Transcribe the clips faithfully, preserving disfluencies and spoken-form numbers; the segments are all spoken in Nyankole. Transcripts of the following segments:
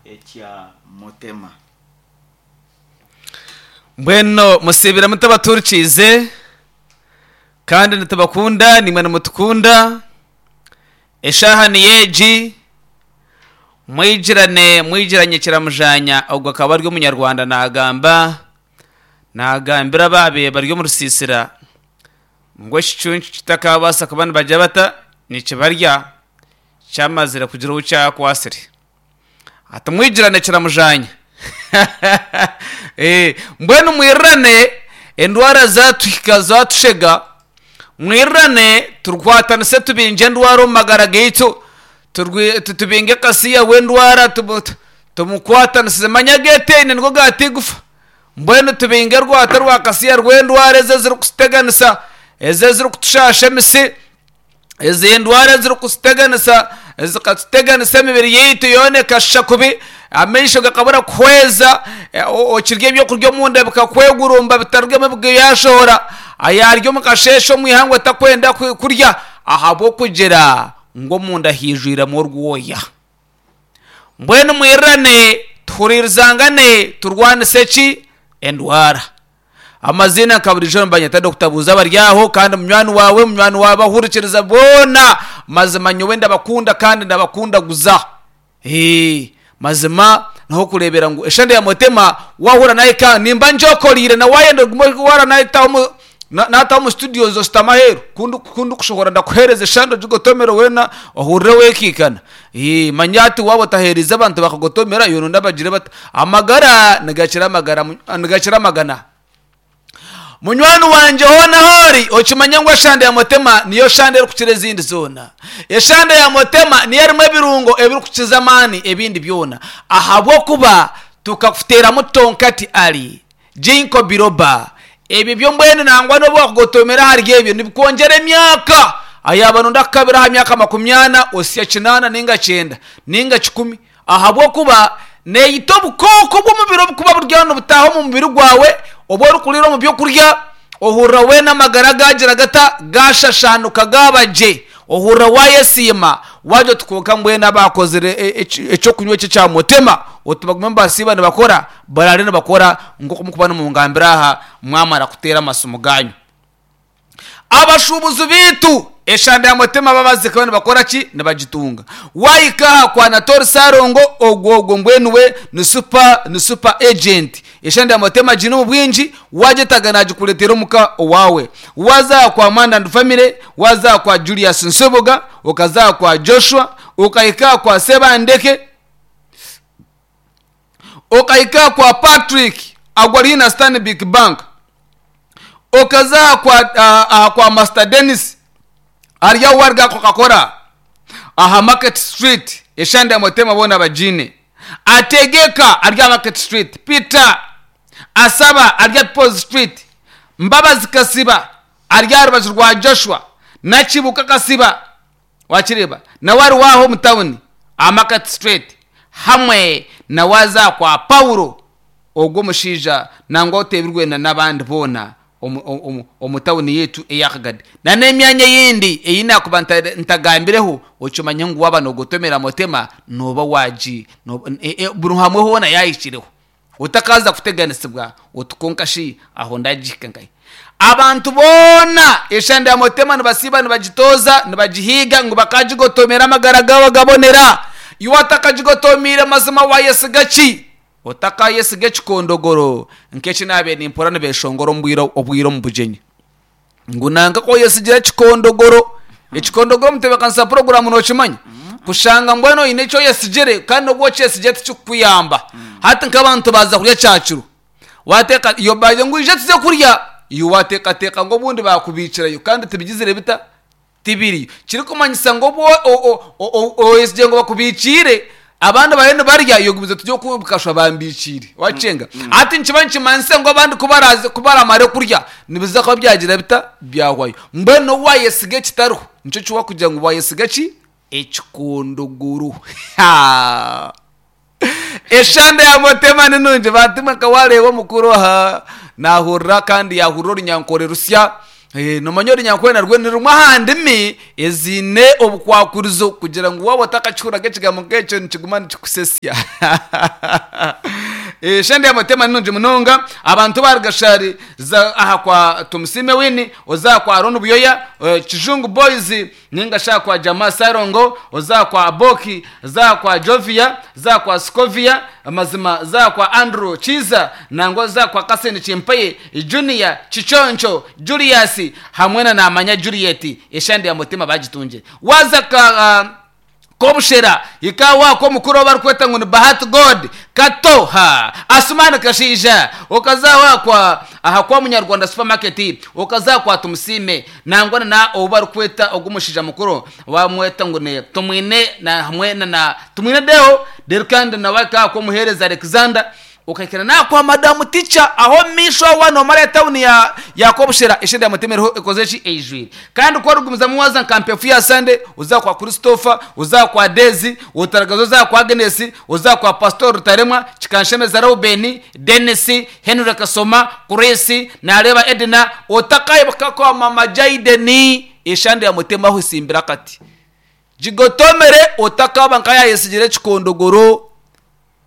Ekya Mutema. Mbwenu musiibire mutabatuurikiize kandi nitubakunda naimwe nimutukunda. Eshaaha niyo egi, mwigirane mwigiranye kiramujanya. Ogwo akaba ari omunyarwanda naagamba naagambira abaabaire bari omu rusiisira ngu ekicuncu kitakabaasa kuba nibagira bata nikibarya kyamazire kugira ou kyakwasire. Ati mwigirane kiramujanya. Eh, mbwenu mwirirane endwara zatuhika zatushega, mwirirane turukwatanise tubingye endwara omu magara gaitu, turwi- tu- tubinge kasiya w'endwara, tumu- tu- tumukwatanisize manya geteine nigo gatigufa. Mbwenu tubinge rwata rwa kasiya rw'endwara ezo ezirikututeganisa, ezo ezirikutushasha emisi, ezi endwara ezirikututeganisa zikatuteganisa emibiri yaitu yoona ekashusha kubi, amaisho gakabura kuhweza, eh, o- okirya ebyokurya omunda bikakwegurumba bitarugemu byashohora, ayarya omu kasheeshe omu ihangwe takwenda ku- kurya ahabw'okugira ngu omunda haijwiremu orwoya. Mbwenu mwirirane tuhuriirizangane turwanise ki endwara. Amaziina nka burijo nibanyeta Doctor Buuza bari aho, kandi munywani waawe munywani waawe abahurikiriza boona, mazima nyowe ndabakunda kandi ndabakundaguza. Ee, mazima naho kureebera ngu eshande ya Mutema wahura naye ka nimba njokoriire na wayenda ogume wara nayetaho mu na- nataho mu studios ositama aheeru kundu kundu kushohora ndakuheereza eshande ogigotomere weena ohurire wekiikana. Ee, manya ati waaba otaheerize abantu bakagotomera yoona ndabagire bata amagara nigakira amagara mu- nigakira amagana. Munywani wangye hoona hoori okimanye ngu eshande ya Mutema niyo shande erikukira ezindi zoona. Eshande ya Mutema niyo erimu ebirungo ebirikukiza amaani ebindi byona, ahabw'okuba tukakuteeramu tonkati ali ginkgo biloba, ebyo byo mbwenu nangwa n'obu wakugotomera ahari ebyo nibikwongyera emyaka. Ayaba nonda kukabira aha myaka makumi ana osya kinaana ninga kyenda ninga kikumi, ahabw'okuba neeyita obukooko bw'omubiri obukuba buri aho nibutaaha omu mubiri gwawe obu orikuriira omu byokurya, ohurira weena amagara gagira gata gashashanuka gaba gye, ohurira wayesiima wagira oti kwonka mbwenu abakozire e- eki- ekyokunywa eki ekya Mutema oti bagume nibasiiba nibakora baraare nibakora nk'oku mukuba nimungambira aha mwamara kuteera amasimu ganyu. Abashuubuzi baitu eshanda ya Mutema babazikayo nibakora ki? Nibagitunga. Wahika aha kwa Natori Sarongo, ogwo ogwo mbwenu we ni super ni super agent. Eshanda ya Mutema agiine omu bwingi, wagyetaaga nagikureetera omuka owaawe. Waza aha kwa Manda and Family, waza aha kwa Julius Nsubuga, okaza aha kwa Joshua, okahika aha kwa Sebandeke, okahika aha kwa Patrick agwo ari na Stanbic Bank, okaza aha kwa, aha, aha kwa Master Dennis ari ahu wariga Coca-Cola aha Market Street, eshande ya Mutema boona bagiine. Ategeka ari aha Market Street, Peter Asaba ari aha People's Street, Mbabazi Kasiba ari aha rubaju rwa Joshua, Nakibuka Kasiba wakireeba nawe ari waaho omu tawuni aha Market Street, hamwe na waza kwa Paulo ogwo omushaija nangwa oteebirwe na n'abandi boona omu- omu omu tawuni yaitu eya Kagadi na n'emyanya eyindi ei nakuba nta- ntagambireho. Okimanye ngu waaba noogotomera Mutema nooba wagi nooba- e- e- buri hamwe hoona yahikireho otakaza kuteganisibwa oti kwonka shi aho ndagihika nkahi. Abantu boona eshande ya Mutema nibasiiba nibagitooza nibagihiiga ngu bakagigotomera amagara gaabo gabonera. Iwe atakagigotomiire mazima wayesiga ki? Otakayesiga ekikondogoro nk'eki naabaire nimpurira nibeeshongora omu bwire obwire omu bugyenyi ngu nanka ku oyesigira ekikondogoro. Ekikondogoro omutebeekanisa puroguraamu nookimanya kushanga mbwenu oine eki oyesigire kandi obu okyesigire tikikukuyamba. Hati nk'abantu baaza kurya kyakiro, wateeka yo bagira ngu ija tuze kurya, iwe wateekateeka ngu obundi baakubiikirayo kandi tibigizire bita tibiriyo, kirikumanyisa ngu obu o- o- o- o- oyesigire ngu bakubiikiire abandi bariyo nibarya, iwe ogumize oti oku bukashwa bambiikiire wakyenga. Hati nikiba nikimanyisa ngu abandi ku baraze ku baramare kurya nibiza kuba byagira bita byahwayo. Mbwenu n'obu wayesiga ekitariho nikyo kiwa kugira ngu wayesiga ki ekikondogoro. Eshande ya Mutema ni nungi. Bantumwe nka wareeba omukuru aha nahurira kandi yahurira orunyankore rusya. Eh, nomanya orunyankore narwo ni rumwe aha ndimi eziine obukwakurizo kugira ngu waaba otakakihuriraga ekigambo nk'ekyo nikiguma nikikusesya. Eh, shende ya mutema ni nungi munonga. Abantu ba Rugashari za aha kwa Tumusime Wini, oza kwa Aaron Buyoya, eh, Kijungu Boys, ninga sha kwa Jama Sarongo, oza kwa Aboki, za kwa Jovia, za kwa Skovia, mazima za kwa Andrew Chiza, nangwa za kwa Kaseni Chimpaye, Junior Chichoncho, Julius hamwe na Namanya Juliet. Eshande ya mutima bagitunje. Waza ka uh, kobushera ikawa ko mukuru barikweta ngo ni Bahati God Kato ha Asumani Kashija, okaza kwa aha kwa Munyarwanda supermarket, okaza kwa Tumusime, nangwa na obu barikweta ogumushija mukuru wamweta ngo ni Tumwine na hamwe na, na Tumwine Deo Derkand na waka ko muhereza Alexander, ukakira na kwa madamu teacher aho misho wano mara town ya yakobushera ishende ya mutemero ikozeshi ejwiri. Kandi kwa rugumiza muwaza nkampefu ya Sunday, uza kwa Christopher, uza kwa Dezi, utaragazo za kwa Agnes, uza kwa Pastor Rutaremwa, Chikanshemeza Ruben, Dennis, Henry Kasoma, Chris, na Reba Edna, utakaye kwa mama Jaideni ishande ya mutema aho simbira kati jigotomere utakaba nkaya yesigire chikondogoro.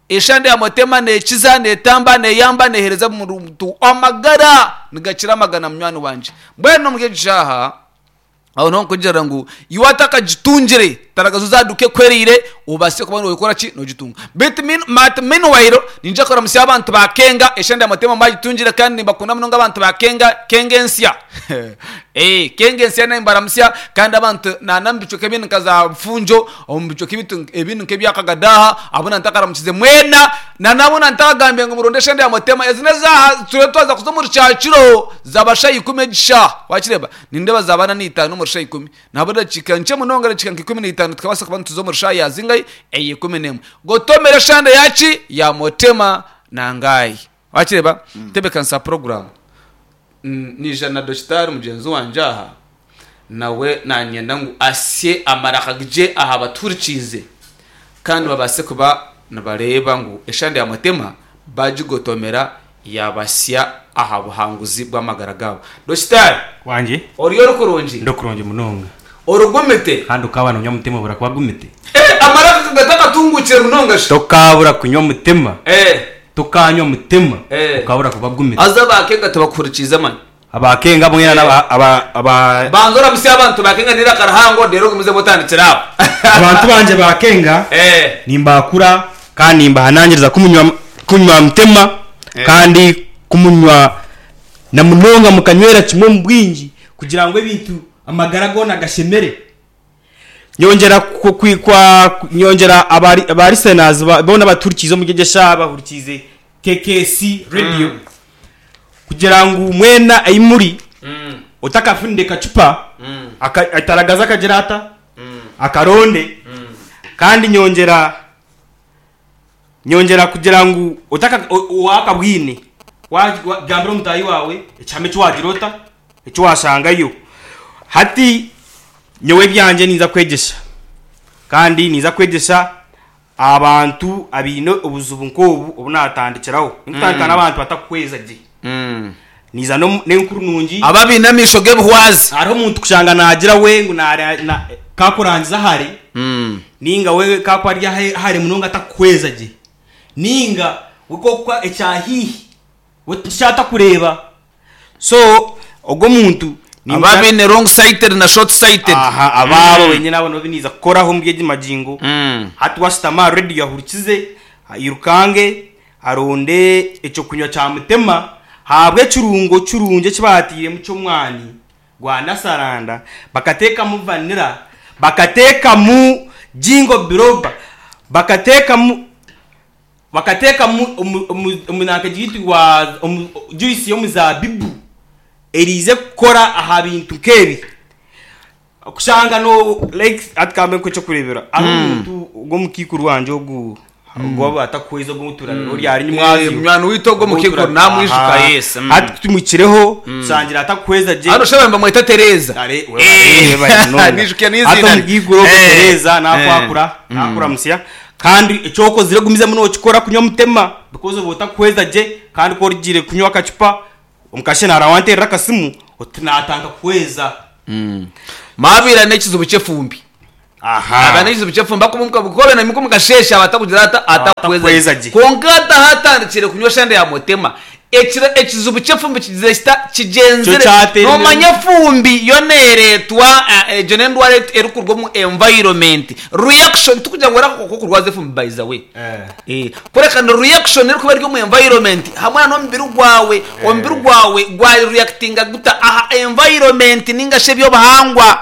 Eshande ya mutema nekiza netamba neyamba nehereza muntu amagara nigakira amagana munywani wanje. Mbwenu mugejaha aho no kugira ngu iwataka gitungire taragazo zaduke kwerire ubase kuba no ki no gitunga. Bit min mat min wairo ninja kora musi abantu bakenga eshande ya mutema magitungire kandi bakunda munonga abantu bakenga kengensia. Eh kengensia na imbaramusia kandi abantu na nambicho kebintu kaza mfunjo ombicho kibitu ebintu kebyakagadaha abona ntakaramukize mwena na nabona ntakagambye ngo muronde shende ya mutema ezine za turetwaza kuzomuri cyaciro zabasha ikumi gisha wakireba ninde bazabana ni itanu muri ikumi nabona chikanje munonga chikanka ikumi n'itanu tukabasa kuba tuzomuri shaya zingai eye ikumi n'imwe gotomera shande yachi ya mutema nangai wakireba mm. Tebe kansa program mm, ni jana doctor mugenzi wanje aha nawe nanyenda ngu asye amarakagije aha baturikize kandi babase kuba nabareba ngu eshande ya mutema bajigotomera yabasya aha buhanguzi bw'amagara gabo. Doctor wanje oriyo rukurungi ndokurungi munonga orugumite kandi ukabana unywa mutima burakuba gumite eh amaraka gataka tungukire munonga tokabura kunywa mutima eh tukanywa mutima eh. Ukabura kuba gumite azaba kenga tubakurikiza man abakenga bamwe na aba aba banzora musi abantu bakenga nira karahango dero gumize botandikira abantu banje bakenga eh nimbakura kandi nimbahanangiriza kumunywa kunywa mutima eh. Kandi kumunywa na munonga mukanywera kimwe mu bwingi kugira ngo ebintu amagara gona gashemere. Nyongera kwikwa nyongera abari abari senazi bona baturikizo mugegesha bahurikize K K C radio mm. Kugira ngo mwena ayimuri mm. utakafunde kacupa mm. Ataragaza kagerata mm. Akaronde mm. Kandi nyongera nyongera kugira ngo utaka wakabwine wagambira omutayi wawe ekyame kiwagirota ekiwashangayo. Hati nyowe byanje ninza kwegesha kandi ninza kwegesha abantu abine obuzubu nkobu obunatandikiraho nkutandika n'abantu batakukweza gye mm. Niza no nenkuru nungi ababina amisho gebuhwazi hariho omuntu kushanga nagira we ngu kakurangiza hare mm. Ninga we kakwarya hare munonga atakukweza gye ninga wekokwa ekyahihi we kureba so ogwo muntu ababine wrong sighted na short sighted aha ababo wenyine nabo nobiniza kukoraho mbyeje majingo mm. Hati wasitama radio yahurikize irukange aronde eco kunywa cha mutema habwe kirungo kirunge kibatire mu cyo mwani gwa nasaranda bakateka mu vanilla bakateka mu jingo biroba bakateka mu bakateka mu umunaka gitwa juice yo muzabibu erize kukora aha bintu kebi kushanga no like atkambe ko cyo kurebera aho umuntu go mukikuru wanje ogu gwa atakweza go muturana ori ari nyumwazi mwana witogo mukikuru namwijuka yes ati tumwikireho sangira atakweza je hano shaba bamwita Tereza are nijukiye nizina ato mugiguro Tereza nakwakura nakura musiya kandi ecoko ziregumiza muno okikora kunywa mutema because bota kweza je kandi ko rigire kunywa akacupa omukashe narawanterera akasimu Oti natanga kuhweza. Mabira n'ekizibu ky'efumbi. Aha. Aba n'ekizibu ky'efumbi akobe na mikumu kashesha abatakugira ata Atakuhweza atakuhweza gye. Konka atandikire kunywa shande ya mutema, ekiro ekizibu ky'efumbi kigize kita kigenzere. Kyo kyatera. Nomanya efumbi yo neeretwa eh, egyo n'endwara erikuruga omu environment reaction, tukugira ngu era kurwaza efumbi, by the way. Eh. Eh, kureka ni reaction erikuba eri omu environment hamwe n'omubiri gwawe. Omubiri gwawe gwareactinga guta aha environment ninga shi ebyobuhangwa.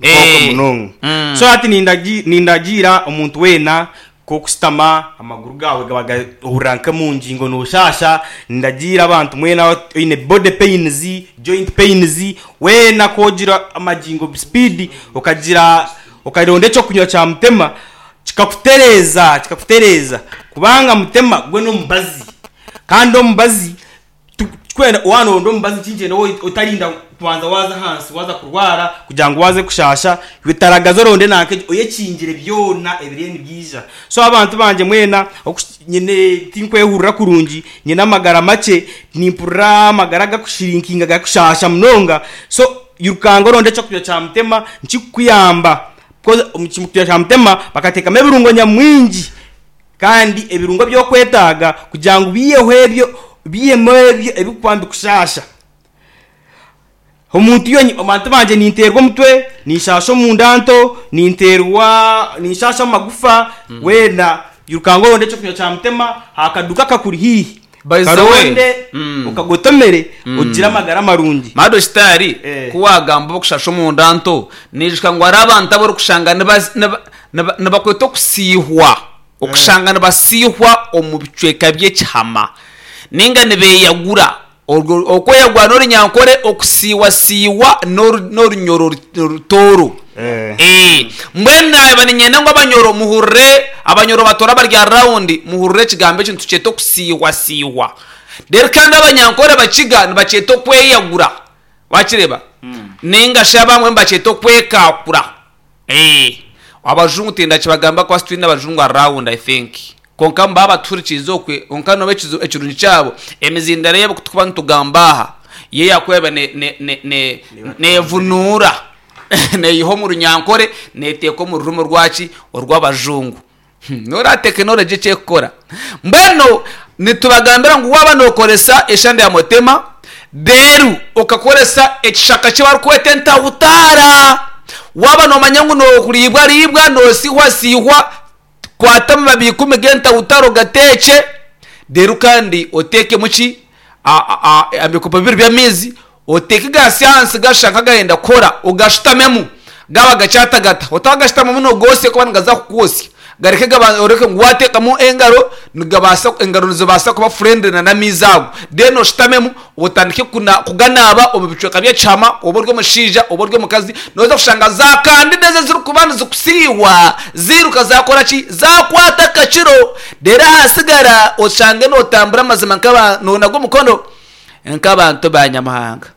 Nk'okwo Eh. munonga. Mm. So hati nindagi- nindagira omuntu weena kokusitama amaguru gawe gaba gahurira nke ngingo noshasha. Nindagira abantu mwena oine body pains, joint pains, weena kogira amagingo speed, okagira okaronda ekyokunywa kya mutema kikakutereza kikakutereza kubanga mutema gwe n'omubazi, kandi omubazi tu- kwenda wanoronda omubazi kinkyenda otarinda kubanza waza hansi waza kurwara kugira ngu waze kushasha bitaragaza, oronde nanke oyekingire byona ebiriyo nibyija. So abantu banje mwena okus- nyine tinkwehurira kurungi, nyine amagara make, nimpurira amagara gakushirinkinga, gakushasha munonga. So yirukanga oronde ekyokurya kya mutema nkikukuyamba, because omu kyokurya kya mutema bakateekamu ebirungo nyamwingi, kandi ebirungo byokwetaaga kugira ngu biyeho ebyo, biyemu ebyo ebikuba mbikushasha omuntu. Iyo abantu banje ninterwa omutwe, ninshasha omunda nto, ninterwa, ninshasha amagufa, wena yirukanga oronde ekyokunywa kya mutema hakaduka kakuri hihi. By the way, karonde mm. ukagotomere ugire amagara marungi. Madositari. Eh. Kuwagamba okushasha omunda nto, nijuka ngu hari abantu abarikushanga niba- niba- niba- nibakweta okusihwa, okushanga nibasihwa omu bicweka by'ekihama ninga nibeyagura. Orwo- okweyagura n'orunyankore, okusiiwasiiwa n'oru- n'orunyoro rutooro. Eh. Eh, mbwenu naba ninyenda ngu abanyoro muhurire, abanyoro batora barya rawundi, muhurire ekigambo eki nitukyeta okusiiwasiiwa. Rero kandi abanyankore bakiga nibakyeta okweyagura, wakireba, ninga shi abamwe nibakyeta okwekakura. Eh, abajungu tindakibagamba kuba twine abajungu around, I think, konka mbaba batuhurikiize okwe. Konka noba ekizu- ekirungi kyabo emizindaro yabo kutukuba nitugamba aha ye yakweba ne- ne- ne- ne- nevunuura neyiha omu runyankore, neteeka omu rurimi rwaki orw'abajungu. Hmm, nora tekinologi ekyekukora. Mbwenu nitubagambira ngu waba nokoresa eshande ya mutema, deru okakoresa ekishaka kibarikweta entahutara, waba nomanya ngu nokuribwa ribwa, nosihwa sihwa, kwata amababi ikumi g'entahutara ogateeke, deru kandi oteekemu ki A- a- a- ebikopo bibiri by'amaizi, oteeke gasi ahansi gasha gayenda kukora, ogashutamemu gaba gakyatagata. Otagashutamamu nogosya kuba nigaza kukwosya. Gareke gaba- oreke ngu wateekamu engaro nigabasa, engaro nizibaasa kuba friendly na n'amaizi ago. Then oshutamemu otandike kuna- kuganaaba omu bicweka by'ekihama, oba ori omushaija oba ori omukazi, noza kushanga za candida ezo ezirikuba nizikusiiwa ziruka zakora ki, zakwata akakiro. Rero ahasigara oshange notambura amazima nk'aba nonaga omukono nk'abantu ba nyamuhanga.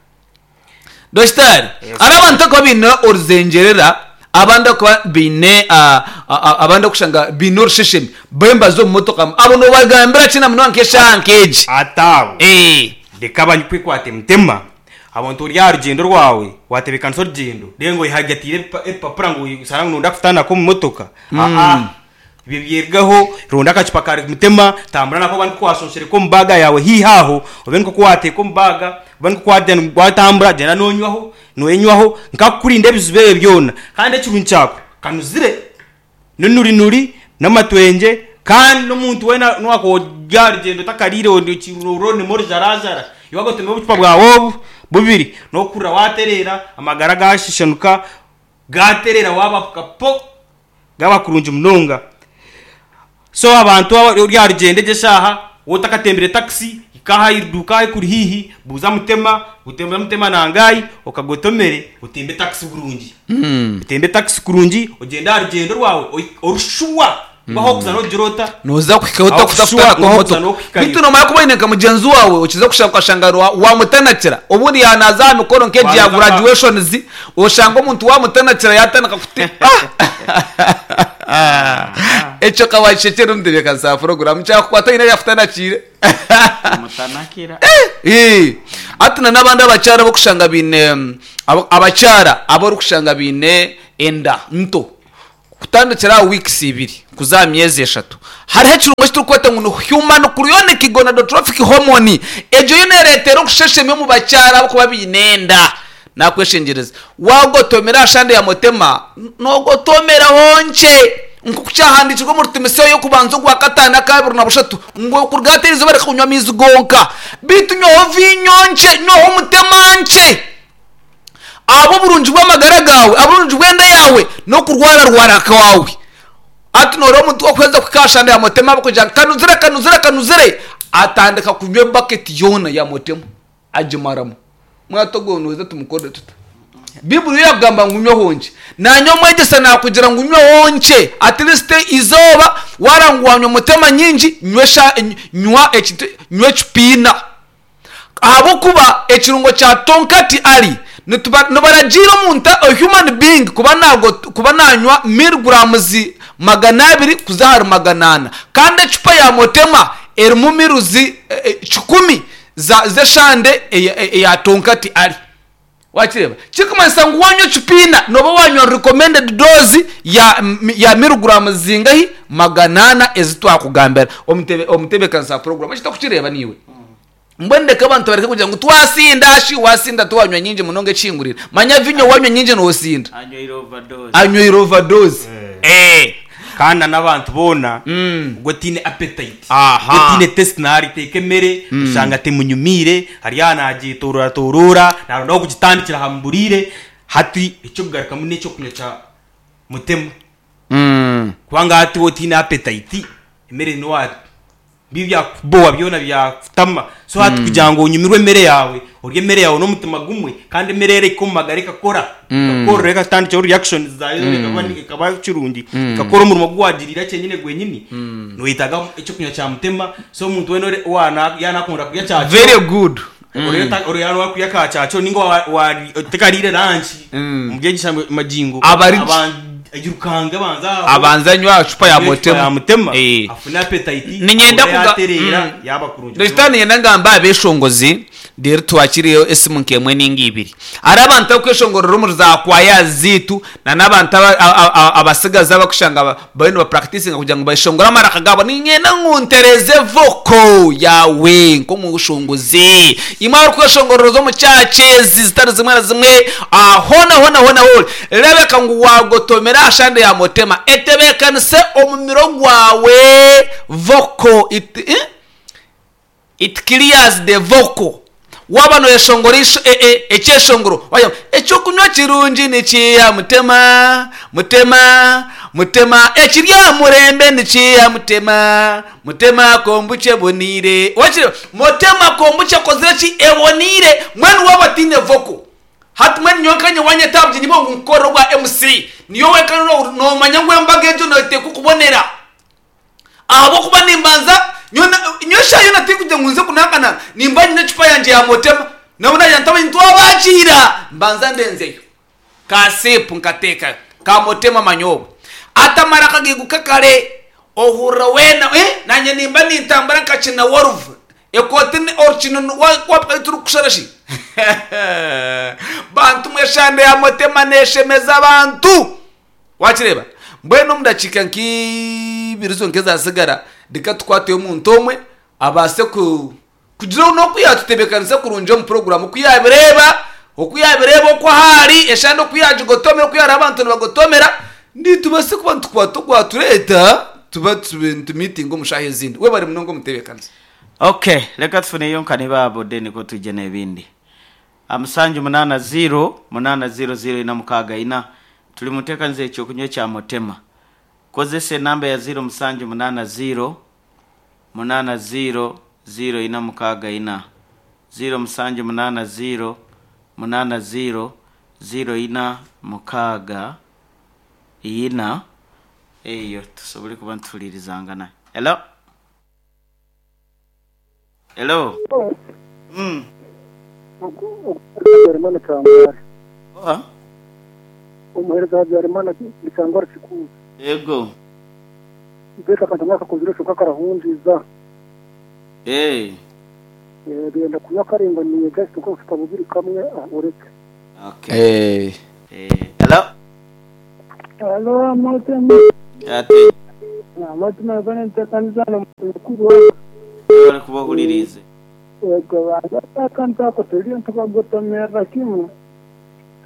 Dositari, hari abantu akuba biine oruzengerera, abandi akuba biine ah, ah, ah, abandi okushanga biine orusheshemi bembaza omu motoka, abo nobagambira ki na munonga nk'eshaaha nk'egi? Atabo Eh, reka banyikwekwata emutema. Abantu ori aha rugendo rwawe, watebekanisa orugendo, rero ngo oyihagatire ebipa- ebipapura ngu usanga ngu nonda kutandika omu motoka. Aa, ibyo byergaho. Ronda akacupa ka mutema, tambura nako, bani kwasonshereka omu baga yawe hihi aho, obe niko kwateeka omu baga, obe niko kwagenda watambura, genda nonywaho noyenywaho nkakukurinda ebizibu ebyo byona. Kandi ekirungi kyako kanuzire ninuri nuri n'amatwenge, kandi n'omuntu wena nwakorya rugendo takarire oronemo orujarajara, iwagotema obucupa bwawe obu bubiri nokurra waterera, amagara gashishanuka gaterera, wabafuka po gaba kurungi munonga. So abantu aba- rya rugendo egyo eshaaha wotakatembere taxi, ikaha iduka kuri hihi, buuza mutema, utemba mutema nangayi, okagotomere, utembe taxi burungi, utembe taxi kurungi, ogende aha rugendo rwawe oi- orushuwa ngaho kuza nogira ota Noza kuhikaho Aho kushuwa, utakutafutana aho kuza motoka. n'okuhikayo. Bitu nomara kuba oine nka mugenzi wawe okiza kushanga ukashanga wa- wamutanakira, obundi yanaza aha mikoro nk'egi ya Waza- graduations, oshanga omuntu wamutanakira yatandika kuti. Ah! Ekyo kawakishekere omutebeekanisa program kyakukwata nyina yafutanakire. Mutanakira. Eh, ati na n'abandi abakyara bokushanga biine mm, abo- abakyara abarikushanga biine enda nto kutandikira aha weeks ibiri kuza aha myezi eshatu, hariho ekirungo ekiturikweta ngu ni human chorionic gonadotrophic hormone. Egyo yo nereetera okusheshemya omu bakyara abakuba biine enda. Nakweshengyereza, wagotomera aha shande ya mutema, nogotomeraho nkye, nkoku kyahandikirwe omu Timoteyo y'okubanza ogwa kataano akabiri na bushatu, ngu okuruga hati eriizooba reka kunywa amaizi gonka, beitu nywaho viinyo nkye, nywaho mutema nkye, ahabw'oburungi bw'amagara gaawe, ahabw'oburungi bw'enda yaawe n'okurwararwara kwawe. Ati noreeba omuntu okuheza kuhika aha shande ya mutema, abakugira ngu kanuzire, kanuzire, kanuzire, atandika kunywa ebaketi yoona ya mutema agimaramu. Mwata ogwo noheza tumukorere tuta? Bibuli yo yakugamba ngu nyweho nkye. Nanye omwegyesa nakugira ngu nyweho nkye, at least izooba waraba ngu wanywa mutema nyingi, nywa esha- nywa ekintu, nywa ekipiina, ahabw'okuba ekirungo kya tonkati ali nituba- nibaragiira omuntu, a human being, kuba nago kuba nanywa milligrams magana abiri kuza ahari magana ana, kandi ecupa ya mutema erimu miruzi eh, eh, kikumi za z'eshande eya eya tonkati ali. Wakireba, kirikumanyisa ngu wanywa ekipiina noba wanywa recommended dose ya, ya milligrams zingahi? Magana ana ezi twakugambira. Omutebe omutebeekanisa program eki tokukireba niiwe. Mbwenu ndeka abantu bareke kugira ngu twasinda shi. Wasinda tiwanywa nyingi munonga ekihingurire. Manya vinyo wanywa nyingi nosinda. Anywire overdose. Anywire overdose. Eh. Kandi n'abantu boona Mm. ubwo tiine appetite, Aha. ubwo tiine taste, nariteeka emere oshanga temunyumiire, hariya nagitorora torora, narondaho kugitandikira hamburire. Hati ekyokugarukamu n'ekyokunywa kya mutema, Mm. kubanga hati wo tiine appetite, emere niwa bi byakubowa byona byakutama. So hati kugira ngu onyumirwe emere yawe, orye emere yawe n'omutima gumwe, kandi emere ereka omu magara ekakora, ekakora, ekatandikiraho reaction zayo, ekaba ekaba kirungi, ekakora omurimo guwagirira kyenyine gwenyini, noyetaga ekyokunywa kya mutema. So omuntu wena ore- wana yanakunda kurya kyakiro, Very good. orero kurya ka kyakiro, ninga wa- wa- tekarire lunch Mm. omubyegisha magingo Abari- ayirukanga abanza aho. Abanza nywa cupa ya ya mutema. mutema, Eh. afune appetite. Ninyenda akore kuga- yatereera, Mm. yaba kurungi. Ndekita ninyenda ngamba abeshongozi, rero twakiriyo esimu nk'emwe ninga ibiri. Ari abantu abakweshongorera omu za kwaya ziitu, na n'abantu aba- a- a- abasigazi abakushanga ba- bariyo nibapracticinga kugira ngu bashongore amaraka gaabo, ninyenda ngu ntereze vocal yawe nk'omushongozi. Imwe abarikweshongorereza omu church ezi zitari zimwe na zimwe, ah, hona hona hona hona, rebeka ngu wagotomera aha shande ya mutema, etebeekanise omumiro gwawe vocal. It, eh? It clears the vocal. Waba noyeshongora isho- e- e- ekyeshongoro, waya ekyokunywa kirungi nikiya mutema, mutema, mutema, ekirya murembe nikiya mutema, mutema kombucha eboniire. Wakire mutema kombucha ekozire ki? Eboniire. Mwenu waba tiine vocal, hati mwenu nyonkanye wanyeta aha bugyenyi bwawe ngu nkukore obwa M C, niyo wenka no- nomanya ngu embaga egyo noteekwa okubonera, ahabwokuba nimbanza nyosha yo natikugira ngu nze kunakana, nimba nyine ecupa yangye ya mutema, nabona ntamanyi twabakiira, mbanza ndenzeyo kasipu nkateeka ka mutema manyobo atamara akagiguka kare, ohurra wena, eh, nanye nimba nintambara nkakina woruvu ekoti orukino wapaka turi kushara shi. Bantu mweshande ya mutema neshemeza abantu. Wakireba, mbwenu omu dakiika nk'ibiri zonka ezasigara, reka tukwateyo omuntu omwe abaase ku kugira n'oku yatutebeekanisa kurungi omu puroguramu, oku yabireeba oku yabireeba oku ahari eshande, oku yagigotomera, oku yareba abantu nibagotomera, nitubase kuba nitukwata ogwatureeta tuba tumitinga omu shaaha ezindi. We bari munonga omutebeekanisa. Okay, reka tufuneyo nkane babode niko tujye n'ebindi. Amusanju munana zero munana zero zero ina mukaaga ina. Tuli muteekaniza ekyokunywa kya mutema. Kozesa enamba ya zero musanju munana zero munana zero zero ina mukaaga ina, zero musanju munana zero munana zero zero ina mukaaga ina. Eyo tusobole kuba nituhulirizangana. Hello, hello mm. Habyarimana Kangwara. Oha. Umuhereza Habyarimana ni Kangwara Kikuzi. Ego. Beka akantu mwakakozire kyonka karahundiza. Eh. Eh, Genda kunywa karinganiye just nko bucupa bubiri kamwe ah, ureke. Okay. Eh, Eh. Hello. Hello, amotema. Ate. Amotema gane mukuru wa Bari kubahuririze. Yego akantu ako turiyo tukagotomera kimwe.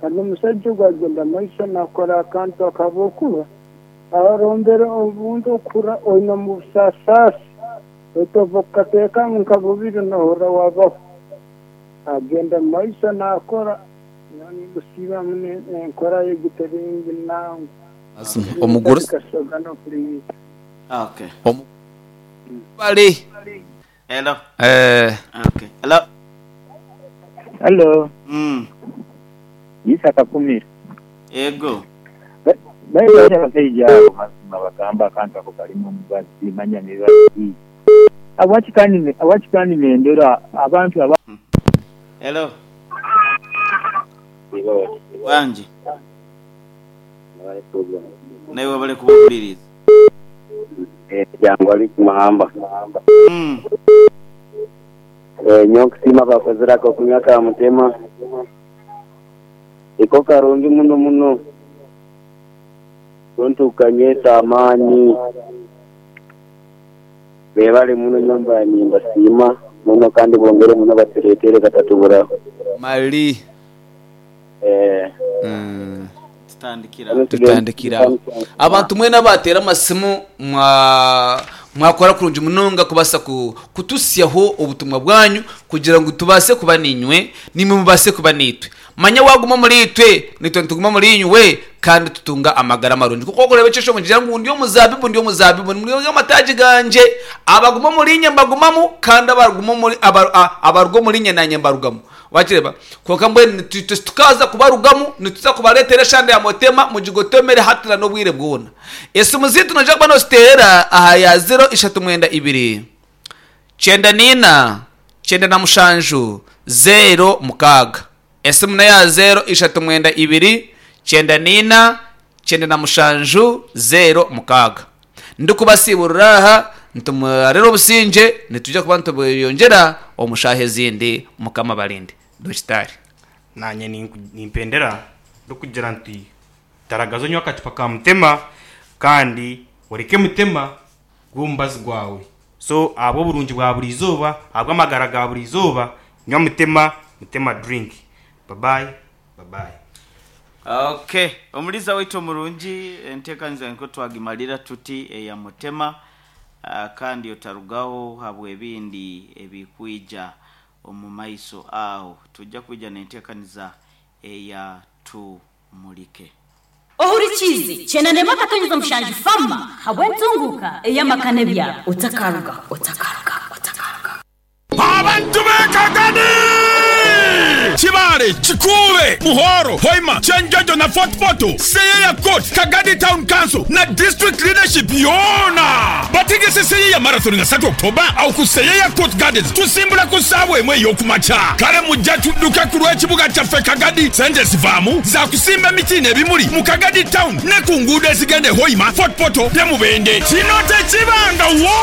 Kandi omusajja gwagenda maisho nakora akantu akabokuba arombera obundi okura oine mu busasaasi otova kukateekamu nka bubiri nohura wabaho agenda maisho nakora nigusiibamu enkora ye guteringi nangu omugurusi kasoga nokuriyiza. Okay. Omu- bali Hello. eh Okay. Hello. Hello, Mm. Isaka Kumira. Ego. Baibuli abashaija abo mazima bagamba akantu ako kalimu omubazi manya mibazi. Awakikani awakikani nendera abantu aba Hello. Wanje. Nawe bari kubahuririza. Jangu ali kumahamba. Mm. Eh, nyokusima bakozerako kunywa ka mutema iko karungi muno muno tuntukanyesa amaani bebale muno nyumba nimbasiima muno kandi bongere muno baturetere katatuburaho. Mali. Eh, Mm. Tutandikira. Tutandikira abantu mwena batera amasimu mwa mwakora kurungi munonga kubasa ku, kutusyaho obutumwa bwanyu kugira ngu tubase kuba ninywe nimwe mubase kuba nitwe manya waguma muri itwe nitwe ntuguma muri inywe kandi tutunga amagara marungi kuko kureba icyo mugira ngo ndi omuzabibu ndi omuzabibu ndi amataji ganje abaguma muri nye mbagumamu kandi abaruguma muri abar- a- abarwo muri nye nanye mbarugamu wakireba konka mbwenu nitu- tu- tukaza kubarugamu nituza kubaretera eshanda ya motema mugigotomere hatira n'obwire bwona esimu zitu noja kuba nositera aha ya zero ishatu mwenda ibiri cyenda nina cyenda na mushanju zero mukaga esimu na ya zero ishatu mwenda ibiri cyenda nina cyenda na mushanju zero mukaga ndikubasiburira aha ntumurere obusinge nitujya kuba ntubuyongera omushaha ezindi mukama barinde dogitari. Nanye ninku- nimpendera ndokugira nti taragaza onywa akacupa ka mutema kandi oreke mutema gw'omubazi gwawe so ahabwa oburungi bwa buri izooba ahabwa amagara ga buri izooba nywa mutema mutema drink babayi babayi. Okay. Omuliza waitu omurungi enteekaniza niko twagimalira tuti eya mutema uh, kandi otarugaho habwa ebindi ebikwija omu maiso aho tujja kwija n'enteekaniza eya tumulike. Ohurikizi chenanema katonyeza mushanju fama habwentunguka eyamakane byabo otakaruga otakaruga otakaruga. Abantu b'Ekagadi, Kibale, Kikuube, Muhoro, Hoima, Kyenjojo na Fort Portal, Seyeya Court, Kagadi Town Council na District Leadership yona bategese Seyeya Marathon nga satu October awo ku Seyeya Court Gardens. Tusimbula ku ssaawa emu ey'okumakya. Kale mujja tudduke ku lw'ekibuga kyaffe Kagadi. Sente zivaamu za kusimba emiti n'ebimuli mu Kagadi Town ne ku nguudo ezigenda e Hoima, Fort Portal ne Mubende. Kino tekibangawo.